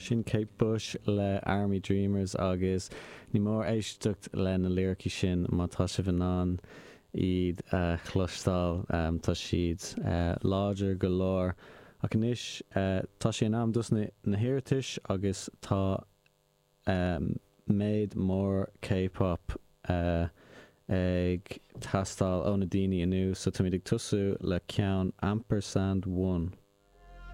Sin Kate Bush le Army Dreamers agus ní mór éisteacht le na liricí sin má tá sibh in ann iad a chloisteáil. Tá siad láidir go leor. Ach anois tá sé in am dos na hiarratais agus tá méid mór K-pop ag teastáil ó na daoine inniu so táimid ag tosú le ceann Ampersand One.